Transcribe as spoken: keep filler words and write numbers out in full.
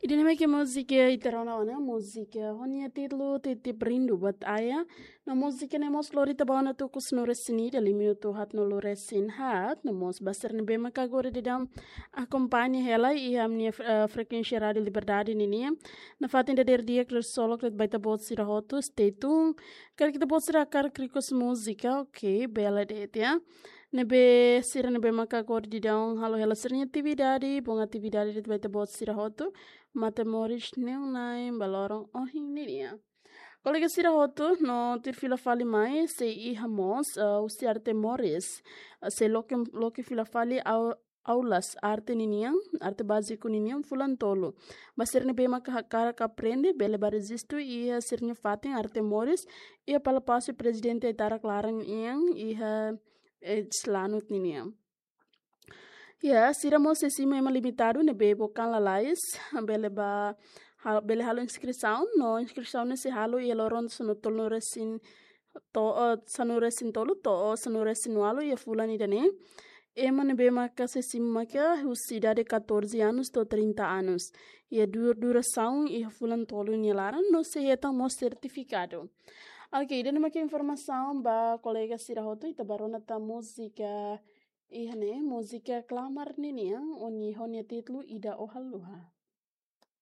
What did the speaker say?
Ida-ne'e mak múzika ita rona ona, múzika ho nia títulu Titip Rindu Buat Ayah. No múzika ne'e mós lori ita ba ona tuku sanulu-resin-ida, liu minutu haatnulu resin haat. No mós ba sira ne'ebé maka agora daudaun akompaña hela iha ami-nia, eh, frekuénsia Rádiu Liberdade ninian. Nafatin dadeer di'ak, ksolok de'it ba ita-boot sira hotu, stay tuned. Karik ita-boot sira hakarak request múzika, ok, bele de'it, ya. Ne'ebé sira ne'ebé maka agora daudaun halo hela sira-nia atividade, bom atividade de'it ba ita-boot sira hotu. Matemoris ne'e na'in ba loron ohin ninian. Kolega sira hotu, no tuir fila fali mai, sei iha mós, eh, husi Arte Moris. Eh, sei loke, loke fila fali au-, aulas arte ninian, arte báziku ninian fulan tolu. Ba sira ne'ebé maka hakarak aprende, bele ba rejistu iha sira-nia fatin Arte Moris, iha Palásiu Prezidente Aitarak laran nian, iha, eh, Slanut ninian. Ya, sira mós sei simu ema limitadu ne'ebé bokan lalais, bele ba, hal-, bele halo inskrisaun, no inskrisaun ne'e sei halo iha loron sanulu-resin to-, eh, sanulu-resin-tolu to'o sanulu-resin-ualu iha fulan ida-ne'e. Ema ne'ebé maka sei simu maka husi idade catorze anos to'o trinta anos. Iha du-, durasaun iha fulan tolu nia laran no sei hetan mós sertifikadu. Ok, ida-ne'e mak informasaun ba kolega sira hotu, ita ba rona tan múzika iha ne'e, múzika Klamar ninian, ho nia, ho nia títulu Ida Ó Haluha.